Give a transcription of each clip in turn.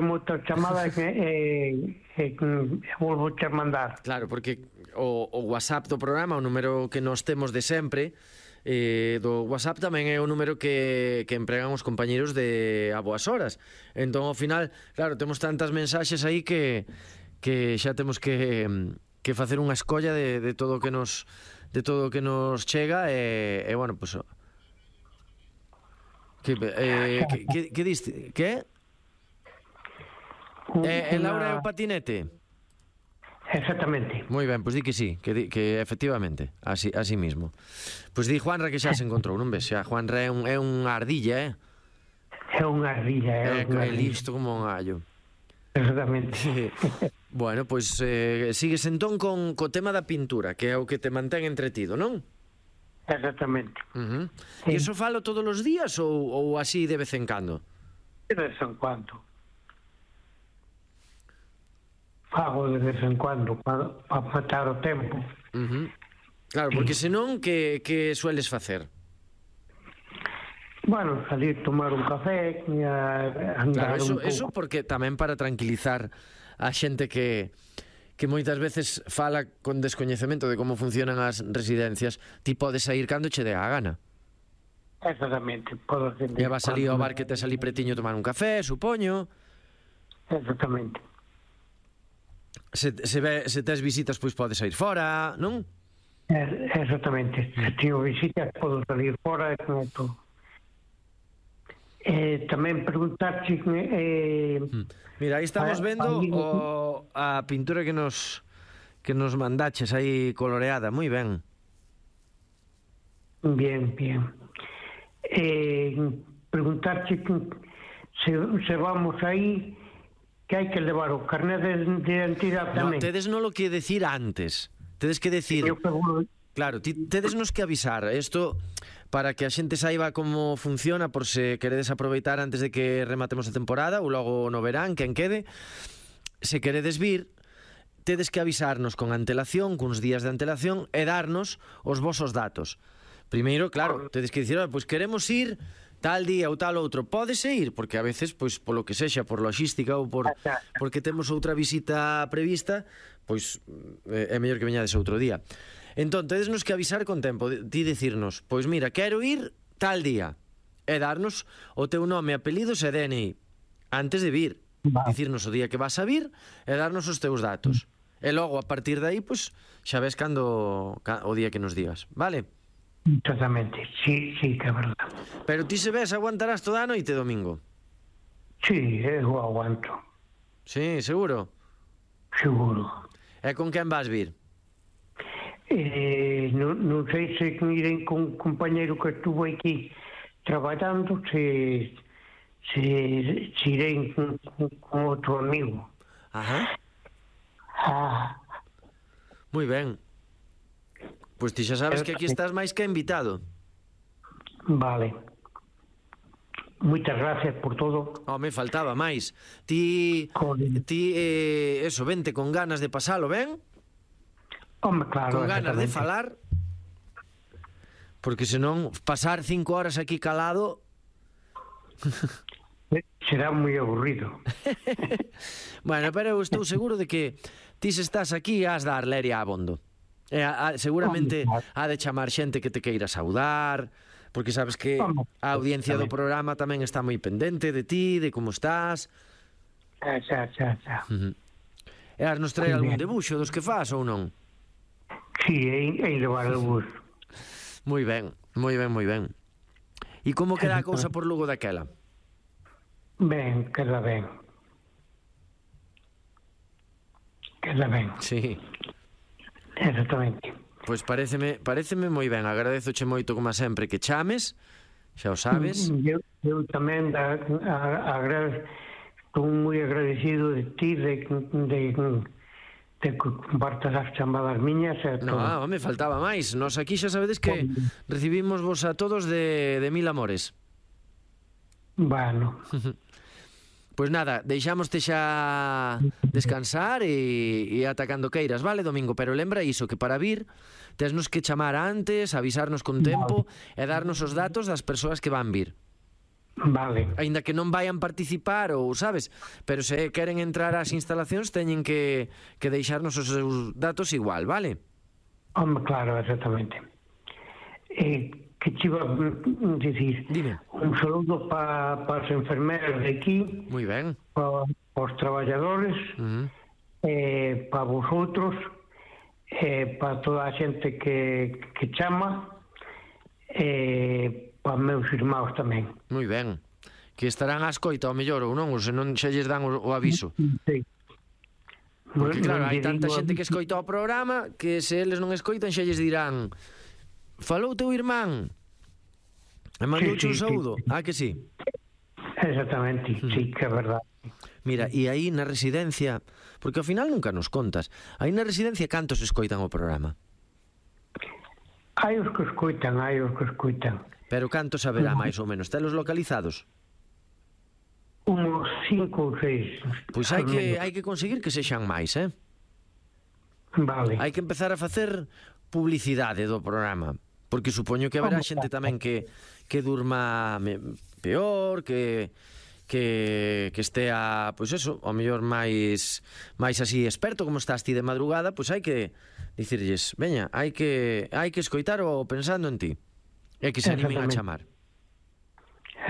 moitas chamadas volvo a mandar. Claro, porque o WhatsApp do programa, o número que nos temos de sempre, do WhatsApp tamén é o número que empregan os compañeros de A Boas Horas. Entón, ao final, claro, temos tantas mensaxes aí que xa temos que facer unha escolla de todo o que nos chega e bueno, pues que diste? Que? Laura é o patinete? Exactamente. Moi ben, pois di que sí, que efectivamente, así mismo. Pois di Juanra que xa se encontrou, non ves? Xa Juanra é unha ardilla, É unha ardilla, é listo como un gallo. Exactamente. Bueno, pois sigues entón co tema da pintura, que é o que te mantén entretido, non? Exactamente. E iso falo todos os días ou así de vez en cando? De vez en cuando. Fago de vez en cuando para matar o tempo. Claro, porque senón que sueles facer? Bueno, salir tomar un café e andar un pouco. Eso porque tamén para tranquilizar a xente que moitas veces fala con descoñecemento de como funcionan as residencias, ti podes sair cando che dé a gana. Exactamente, podo hacer. E vas salir ao bar que te salí pretiño tomar un café, supoño. Exactamente. Se tes visitas, pois podes sair fora, non? Exactamente. Se teño visitas, podo salir fora e con todo. Tamén preguntarche mira, aí estamos vendo a pintura que nos mandaches aí coloreada, moi ben. Bien. Preguntarche se vamos aí que hai que levar o carnet de identidade tamén. Tedes non lo que decir antes. Tedes que decir... Claro, tedes nos que avisar. Isto para que a xente saiba como funciona, por se queredes aproveitar antes de que rematemos a temporada ou logo no verán, quen quede. Se queredes vir, tedes que avisarnos con antelación, cuns días de antelación, e darnos os vosos datos. Primeiro, claro, tedes que dicir, pois queremos ir tal día ou tal outro. Pódese ir, porque a veces, pois polo que sexa, por logística ou porque temos outra visita prevista, pois é mellor que veñades outro día. Entón, tedes nos que avisar con tempo, ti dicirnos, pois mira, quero ir tal día, e darnos o teu nome, apelidos e DNI antes de vir. Dicirnos o día que vas a vir e darnos os teus datos. E logo, a partir de aí, pois xa ves cando o día que nos digas, vale? Exactamente, sí, que é verdad. Pero ti se ves, aguantarás toda a noite domingo? Sí, eu aguanto. Sí, seguro? Seguro. E con quen vas vir? Non sei se irei con un compañeiro que estuvo aquí traballando, se irei con outro amigo. Moi ben. Pois ti xa sabes que aquí estás máis que invitado. Vale. Moitas gracias por todo. Me faltaba máis. Ti eso, vente con ganas de pasalo, ben? Claro. Con ganas de falar. Porque senón pasar 5 horas aquí calado será moi aburrido. Bueno, pero eu estou seguro de que ti se estás aquí has dar leria abondo. Seguramente ha de chamar xente que te queira saudar, porque sabes que a audiencia do programa tamén está moi pendente de ti, de como estás. Xa. E has nos traer algún debuxo dos que faz ou non? Sí, hai levar algúns. Moi ben. E como queda a cousa por Lugo daquela? Ben, queda ben. Sí. Exactamente. Pois paréceme moi ben. Agradezoche moito, como sempre, que chames. Xa o sabes. Eu tamén estou moi agradecido de ti de que compartas as chamadas miñas. Me faltaba máis. Nos aquí xa sabedes que recibimos vos a todos de mil amores. Bueno. Pois nada, deixámoste xa descansar e atacando queiras, vale, Domingo? Pero lembra iso, que para vir tesnos que chamar antes, avisarnos con tempo e darnos os datos das persoas que van vir. Vale. Aínda que non vayan participar ou, sabes, pero se queren entrar ás instalacións teñen que deixarnos os seus datos igual, vale? Home, claro, exactamente. Que te iba a dicir? Dime. Un saludo para as enfermeras de aquí. Moi ben. Para os traballadores, para vosotros, para toda a xente que chama, para meus irmãos tamén. Moi ben. Que estarán á escoita, ao mellor, ou non? Ou se non xa lles dan o aviso. Sí. Porque claro, hai tanta xente que escoita o programa que se eles non escoitan xa lles dirán: falou teu irmán e mandouche un saúdo. Ah, que sí? Exactamente, sí, que é verdade. Mira, e aí na residencia, porque ao final nunca nos contas, aí na residencia cantos escoitan o programa? Hai os que escoitan. Pero cantos haberá máis ou menos? Telos localizados? Unos 5 ou 6. Pois hai que conseguir que sexan máis, Vale. Hai que empezar a facer publicidade do programa, porque supoño que haberá xente tamén que durma peor, que estea, pois eso, ao mellor máis así experto, como estás ti de madrugada, pois hai que dicirlles, veña, hai que escoitar o pensando en ti, e que se animen a chamar.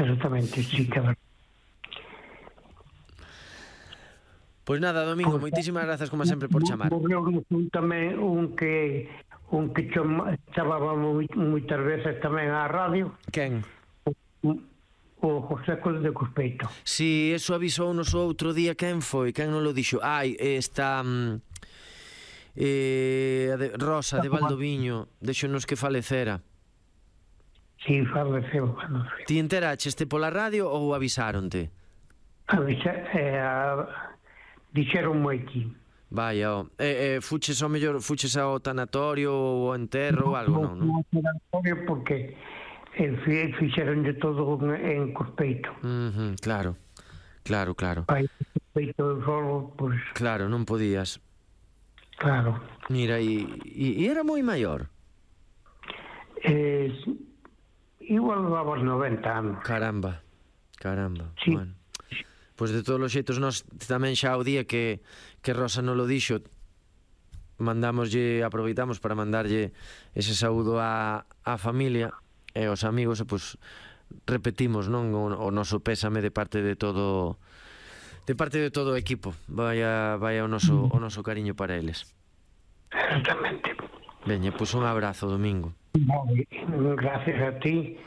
Exactamente, sí, que verdade. Pois nada, Domingo, moitísimas grazas como sempre por chamar. Tamén un que chamaba moitas veces tamén á radio. Quen? O José de Cuspeito. Si, eso avisounos o outro día. Quen foi? Quen non lo dixo? Esta Rosa de Valdoviño, deixonos que falecera. Si, faleceu. Ti enteraste pola radio ou avisaronte? Dixeronme aquí. Vaya, fuches ao mellor, fuches ao tanatorio ou ao enterro ou algo, non? Non ao tanatorio porque fixeron de todo en Cuspeito. Claro. Pai, Cuspeito solo, pois... Claro, non podías. Claro. Mira, e era moi maior? Igual daba 90 anos. Caramba. Sí. Bueno. Pois de todos os xeitos nós tamén xa o día que Rosa non lo dixo aproveitamos para mandarlle ese saúdo á familia e aos amigos e pois repetimos, non, o noso pésame de parte de todo o equipo. Vaya o noso cariño para eles. Exactamente. Veña, pois un abrazo, Domingo. Gracias a ti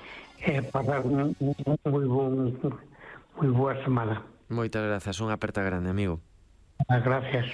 para moi boa semana. Moitas grazas, unha aperta grande, amigo. Gracias.